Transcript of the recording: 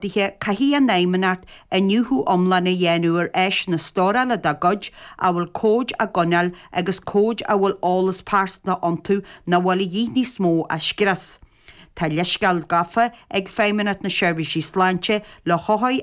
Ordaithe, caithfidh an Fheidhmeannacht iniúchadh iomlán a dhéanamh ar áiseanna stórála dá gcuid a bhfuil comhaid á gcoinneáil agus comhaid a bhfuil eolas pearsanta iontu nach bhfuil a dhíth níos mó a scrios. Tá leithscéal gafa ag Feidhmeannacht na Seirbhíse Sláinte le hothair.